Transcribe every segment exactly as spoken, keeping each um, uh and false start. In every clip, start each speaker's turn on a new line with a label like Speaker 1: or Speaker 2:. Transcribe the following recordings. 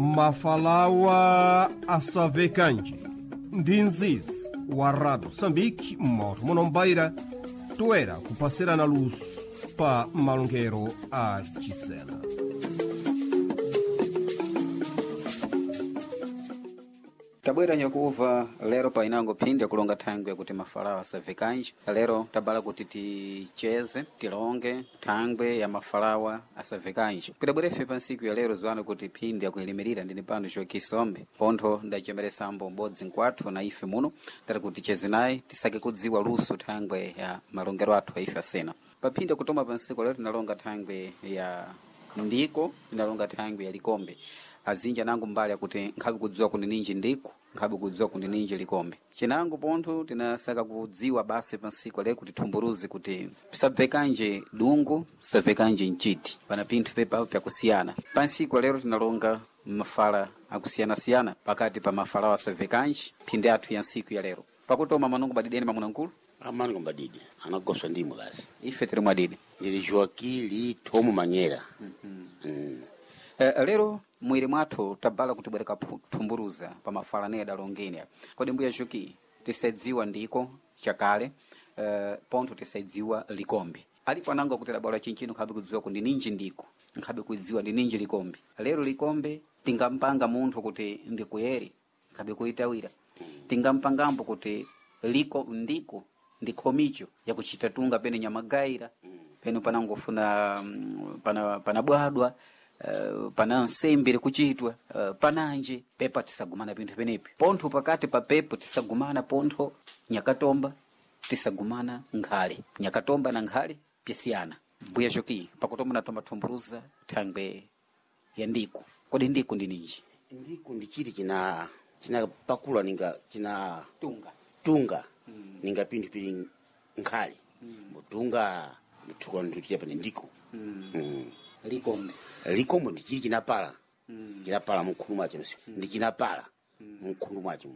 Speaker 1: Mafalawa asavekanje ndi nzizi wa Rádio Moçambique moto munombaira toera kupasirana luso pa malongero a Chisena.
Speaker 2: Tabwera nyakuva lero painango phindi yakulonga thangwi yakuti mafalawa asavekanji lero tabala kuti ticheze tilonge thangwi ya mafalawa asavekanji kutabwera ife pa ntsiku ya lero ziwani kuti phindi yakuyilimirira ndini pano Joaquim pontho ndachemeresambo m'bodzi nkwathu na ife muno tati kuti ticheze naye tisake kudziwa luso thangwi ya malongero athu a ife asena pa phindi yakutoma pa ntsiku lero tinalonga thangwi ya ndiko tinalonga thangwi ya likombe azinji anango mbali akuti nkhabe kudziwa kuti ninji ndiko nkhabe kudziwa kuti ninji likombe cinango pontho tinasaka kudziwa basi pa ntsiku lero kuti thumburuzi kuti pisabvekanje dungu pisabvekanje mchiti pana pinthu pepa pyakusiyana pa ntsiku lero tinalonga mafala akusiyanasiyana pakati pa mafalawo asabvekanji phindi athu ya ntsiku ya lero pakutoma manungo badideni mamunankulu
Speaker 3: amango mbadidi anagoswa ndimwe basi
Speaker 2: ife tiri mwadidi
Speaker 3: ndili Joaquim Tomo Manyera mm.
Speaker 2: Eh, lero mwiri mwathu tabala kuti bwereka thumburuza pa mafala ne adalongeni kodi mbuya Joaquim tisadziwa ndiko chakale eh, pontho tisadziwa likombe alipo anango kuti adabala chinchino nkhabe kudziwa kuti ninji ndiko nkhabe kudziwa ndi ninji likombe lero likombe tingampanga munthu kuti ndikuyere nkhabe kuitawira tingampangambo kuti liko ndiko ndi khomicho yakuchita tunga pene nyamagaira pene panangofuna mm, pana panabwadwa uh, pana nsembe likuchitwa uh, pananje pepa tisagumana pinthu penepi pontho pakati pa pepo tisagumana pontho nyakatomba tisagumana nkhale nyakatomba na nkhale pyasiyana mbuya Joaquim pakutomba natomba thumburuza thangwe ya ndiko kodi ndiko ndi ninji
Speaker 3: ndiko ndi chiti china chinapakula ninga china
Speaker 2: tunga
Speaker 3: tunga ninga pinthu pili nkhale mbutunga mthuka nthuti pane ndiko mm.
Speaker 2: likombe
Speaker 3: likombo ndi chili chinapala chinapala mkhundu mwacho ndi chinapala mkhundu mwacho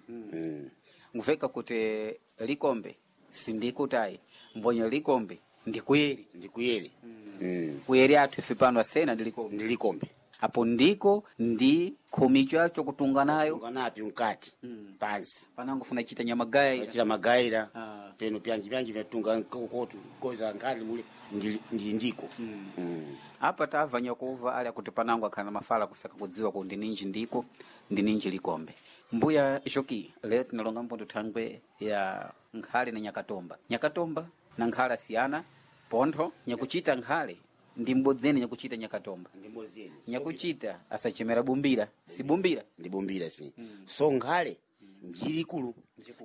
Speaker 3: mm.
Speaker 2: nguveka kuti likombe sindikutayi mbonye likombe ndikuyeri
Speaker 3: ndikuyere mm.
Speaker 2: kuyeri athu ife pano asena ndi likombe
Speaker 3: ndi likombe
Speaker 2: apo ndiko ndi khomicho yacho kutunga nayo
Speaker 3: nganapi mkati pansi
Speaker 2: panangofuna chita nyamagaira
Speaker 3: chita magaira
Speaker 2: Ah.
Speaker 3: peno pyanji pyanji vyatunga kokotu koza nkhali mule ndi ndi ndiko mm.
Speaker 2: apa tamva nyakuva ali akuti panango akhala na mafala kusaka kudziwa kuti ndi ninji ndiko ndi ninji likombe mbuya Joaquim lero tinalonga mbondo thangwe ya nkhale na nyakatomba nyakatomba na nkhale asiyana pontho nyakuchita nkhale ndi mbodzeni nyakuchita nyakatomba nyakuchita asachemera bumbira si bumbira
Speaker 3: ndibumbira si so nkhale njiri ikulu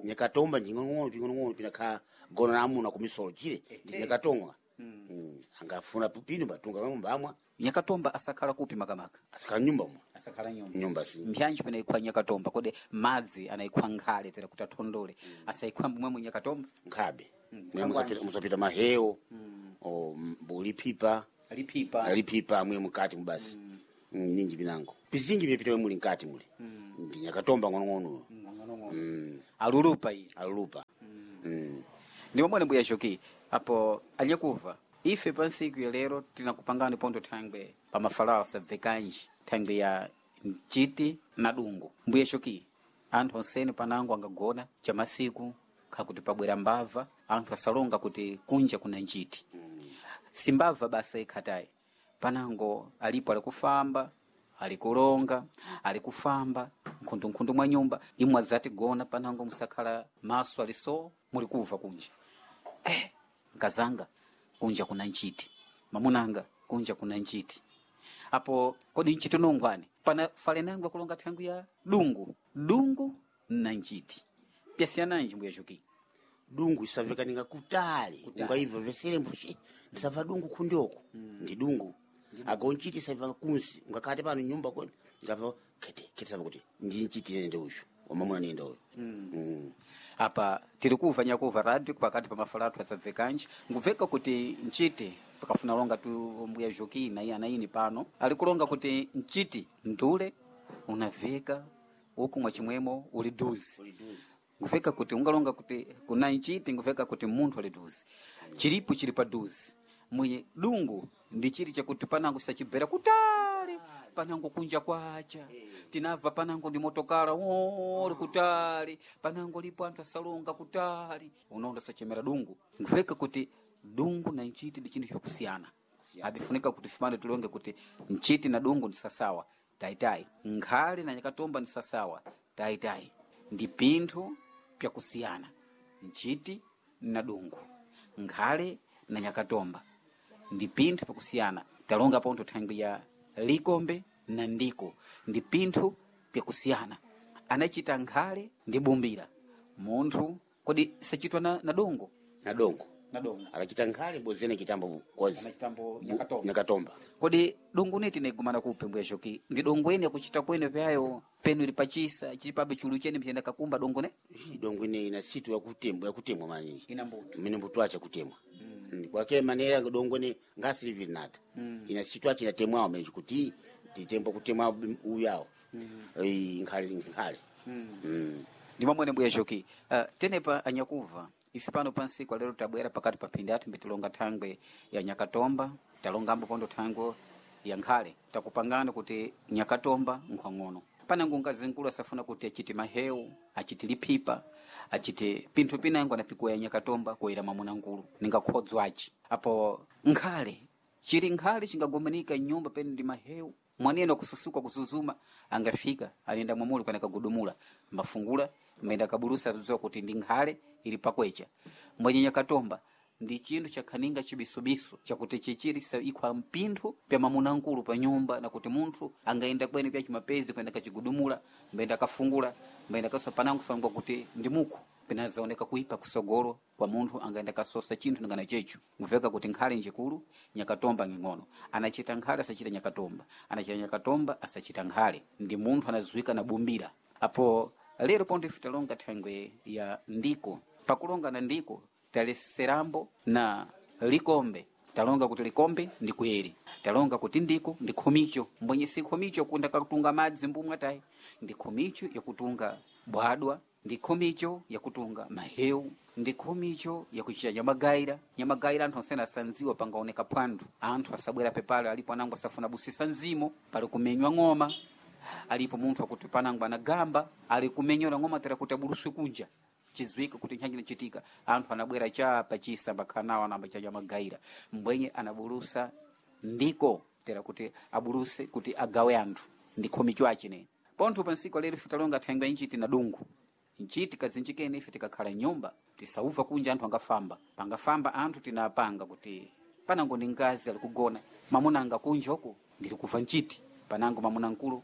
Speaker 3: nyakatomba njing'onong'ono ping'onong'ono pinakhala gona la amuna kumisolo chile ndi nyakatonga mm. angafuna pino batunga mbamwa
Speaker 2: nyakatomba asakhala kupi makamaka
Speaker 3: asakhala nyumba mwa
Speaker 2: asakhala nyumba
Speaker 3: nyumba si
Speaker 2: mpyanji pene ikhwa nyakatomba kodi madzi anayikhwa nkhale tera kuti athondole asayikhwa mbumwemwe nyakatomba
Speaker 3: nkhabe Mwe musapita- musapita mahewo o mbuliphipa
Speaker 2: liphipa
Speaker 3: liphipa mwe mukati mubasi mm. ninji pinango pizinji pyapita muli mkati muli ndi nyakatomba ng'onong'ono mm.
Speaker 2: alulupa iyi
Speaker 3: alulupa mm.
Speaker 2: ndi momwe mbuya Joaquim apo anyakuva ife pa ntsiku ya lero tinakupangani pontho thangwe pa mafalawo asabvekanji thangwe ya mchiti na dungu mbuya Joaquim anthu onsene panango angagona chamasiku khakuti pabwera mbava anthu asalonga kuti kunja kuna njiti simbava basa ikhatayi panango alipo alikufamba alikulonga alikufamba nkhundunkhundu mwa nyumba imwe adzati gona panango musakhala maso aliso mulikuva kunja eh, nkazanga kunja kuna nchiti mamunanga kunja kuna nchiti apo kodi nchiti nongwani pana fale nangu akulonga thangwi ya dungu dungu na nchiti pyasiyananji mbuya Joaquim
Speaker 3: dungu isavekaninga kutali ungaibva vesere mbushi ndisabva dungu kundioko ndi dungu ago nchiti isabva kunsi ungakate pano nyumba kodi ngabva kete kete saba kuti ndi nchiti nende uyu wamamuna nende uyu mm.
Speaker 2: apa tiri kuva nyakuva radio pakati pa mafala athu asabvekanji ngubveka kuti nchiti pakafuna longa tu mbuya Joaquim na iye anaini pano ali kulonga kuti nchiti ndule unaveka uku mwachimwemo uli duzi nguveka kuti ungalonga kuti kuna nchiti nguveka kuti munthu ali duzi chilipo chili pa duzi mwenye dungu ndi chili chakuti panango sachibvera kutali panango kunja kwacha tinabva panango ndi motokala ori kutali panango lipo anthu asalonga kutali unondo sachemera dungu nkuveka kuti dungu na nchiti ndi chinthu chakusiyana abifunika kuti fumane tilonge kuti nchiti na dungu ndi sasawa taitayi nkhale na nyakatomba ndi sasawa taitayi ndi pinthu pyakusiyana nchiti na dungu nkhale na nyakatomba ndi pinthu pyakusiyana talonga pontho thangwi ya likombe na ndiko ndi pinthu pyakusiyana anachita nkhale ndi bumbira munthu kodi sachitwa na, na dongo
Speaker 3: na dongo
Speaker 2: na dongo
Speaker 3: akachita nkhale bozene chitambo kozi
Speaker 2: anachitambo nyakatomba
Speaker 3: nyakatomba
Speaker 2: kodi dongo neti naigumana kupe mbuya shoki ndi dongo ene yakuchita kwene pyayo penu ili pachisa chili pabe chulu chene mchiyenda kakumba dongo ne
Speaker 3: Ii, dongo ine ina situ yakutemwa yakutemwa maninji
Speaker 2: ina mbuto
Speaker 3: mene mbuto acha kutemwa mm. kwake manera dongo ne ngasilivi nata mm. ina situ achi inatemwawo menji kuti titembo kutemwa uyawo mm. nkhale nkhale mm. mm.
Speaker 2: ndi mamwene mbuya shoki uh, tenepa anyakuva ife pano pansiku lero tabwera pakati pa phindi athu mbitilonga thangwe ya nyakatomba talongambo pondo thangwe ya nkhale takupangana kuti nyakatomba nkhwang'ono panango ngazi nkulu asafuna kuti achite mahewu achite liphipa achite pinthu pinango anapikuwa ya nyakatomba kuyera mwamuna nkulu ningakhodzwaci apo nkhale chili nkhale chingagomanika nyumba pene ndi mahewu mwaneno kususuka kuzuzuma angafika anenda mwamuli kana kagudumula mbafungula mbaenda kabulusa ziwa kuti ndi nkhale ili pakwecha mbwenye nyakatomba ndi chinthu chakhaninga chibisubisu chakuti chichiri sa ikhwa mpinthu pya mamuna nkulu pa nyumba na kuti munthu angaenda kwene pya chimapezi kwenda kachigudumula mbaenda kafungula mbaenda kaso panango salongwa kuti ndi mukhu pinazaoneka kuipa kusogolo kwa munthu angaenda kasosa chinthu ningana checho nguveka kuti nkhale njikulu nyakatomba ng'ono anachita nkhale asachita nyakatomba anachita nyakatomba asachita nkhale ndi munthu anazuika na bumbira apo lero ponto ife talonga thangwe ya ndiko pakulonga na ndiko taleserambo na likombe talonga kuti likombe ndi kuyeri talonga kuti ndiko ndi khomicho mbwenye si khomicho kunda kakutunga madzi mbumwa tayi ndi khomicho yakutunga bwadwa ndi khomicho yakutunga mahewu ndi khomicho yakuchita nyamagaira nyamagaira anthu ansene asanziwa pangaoneka phwando anthu asabwera pepale alipo anango asafuna busisa nzimo pali kumenywa ng'oma alipo munthu akuti panango anagamba ali kumenyola ng'oma tera kuti abuluswe kunja chizwika kuti nthanji inachitika anthu anabwera cha pachisa mbakhanawo anamba cha nyamagaira mbwenye anabulusa ndiko tera kuti abuluse kuti agawe anthu ndi khomicho achine pontho pansiku lero ife talonga thangwe nchiti na dungu nchiti kazinjikene ife tikakhala nyumba tisauva kunja anthu angafamba pangafamba anthu tinapanga kuti panango ndi ngazi ali kugona mamuna anga kunja uku ndili kuva nchiti panango mamuna nkulu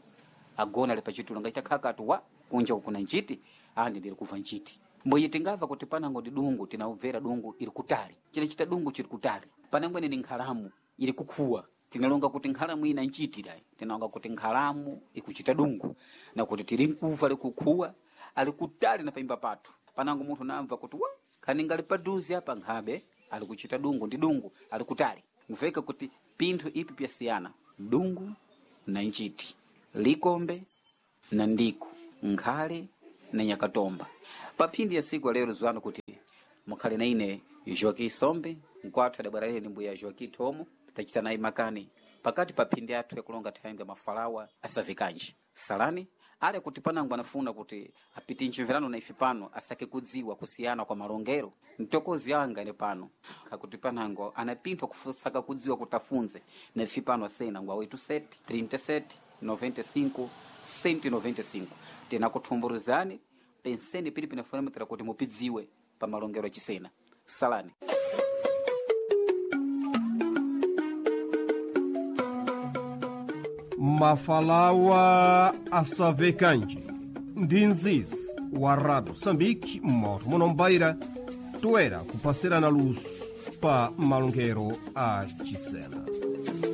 Speaker 2: agona ali pachitulo ngaita khakatu wa kunja uku kuna nchiti andi ndili kuva nchiti mbwenye tingamva kuti panango ndi dungu tinaubvera dungu ili kutali chinachita dungu chili kutali panango ine ni nkhalamu ili kukhuwa tinalonga kuti nkhalamu ina nchiti dai tinalonga kuti nkhalamu ikuchita dungu na kuti tili nkuva likukhuwa ali kutali na paimba pathu panango munthu namva kuti wa khani ngali paduzi apa nkhabe ali kuchita dungu ndi dungu ali kutali mveka kuti pinthu ipi pyasiyana dungu na nchiti likombe na ndiko nkhale na nyakatomba paphindi ya siku lero zwano kuti mukhale na ine Joaquim Sombe nkwathu adabwera ine mbuya Joaquim Tomo tachita naye makani pakati pa phindi athu yakulonga thayanga mafalawa asavikanji salani ale kuti panango anafuna kuti apite mchimverano na ife pano asake kudziwa kusiyana kwa malongero mtokozi anga ine pano kakuti panango anapinthwa kusaka kudziwa kuti afunze na ife pano asena ngwa oito sete trinta e sete noventa e cinco cento e noventa e cinco tinakuthumburizani penseni pili pinafunamitira kuti mupidziwe pa malongero achisena salani
Speaker 1: Mafalawa asavekanji ndi nzizi wa Rádio Moçambique moto munombaira toera kupasirana luso pa malongero a Chisena.